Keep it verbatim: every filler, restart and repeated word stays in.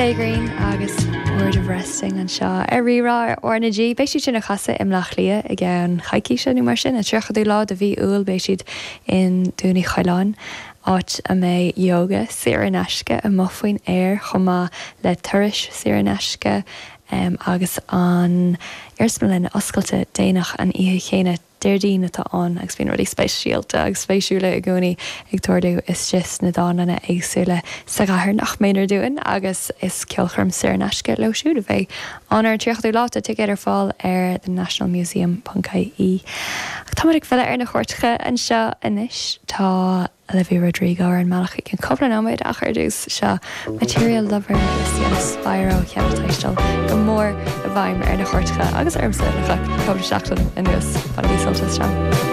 Stay Green agus Bored of Resting anseo ar Rí-Rá ar RnaG. Beidh siad sin ag casadh i mBleá Cliath i gceann coicíse nó mar sin an tríochadú lá de mhí Iúil beidh siad in Dún Uí Choileáin áit a mbeidh yoga saor in aisce amuigh faoin aer chomh maith le turais saor in aisce um, agus an iarsmalann oscailte déanach an oíche chéanna Déardaoin atá ann agus bíonn rudaí speisialta agus spéisiúla i gcónaí ag tarlú istigh sna dánlanna éagsúla sa chathair nach méanar dúinn agus is ceolchoirm saor in aisce leo siúd a bheidh ann ar an tríochadú lá tá ticéid ar fáil ar the nationalmuseum.ie. Tá ag filleadh ar na cairteacha anseo anois tá Olivia Rodrigo ar an mbealach i gceann cúpla nóiméad ach ar dtús seo Material Lover is an Spyro cheann taisteal go mór i bhfeidhm ar na cairteacha agus ormsa le cúpla seachtain anuas bainigí sult as seo.